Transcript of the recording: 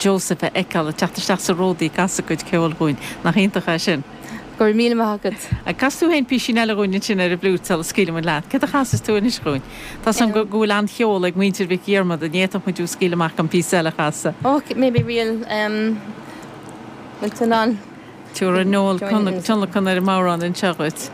Joseph a fheiceáil ag teacht isteach sa Ródaí ag casadh a cuid ceoil dhúinn. Nach iontach é sin? Go raibh míle maith agat. Cas tú féin písín eile dhúinn ansin ar an bhfliúit sula scaoilfidh muid leat. Céard a chasfas tú anois dhúinn? Tá 's agam go bhfuil an-cheol ag muintir Mhic Dhiarmada, ní fhéadfadh muid thú a scaoileadh amach gan píosa eile a chasadh. Ok, maybe ríl, em, bhfuil tú in ann? Tabharfaidh Noel tionlacan ar an mbodhrán anseo dhuit.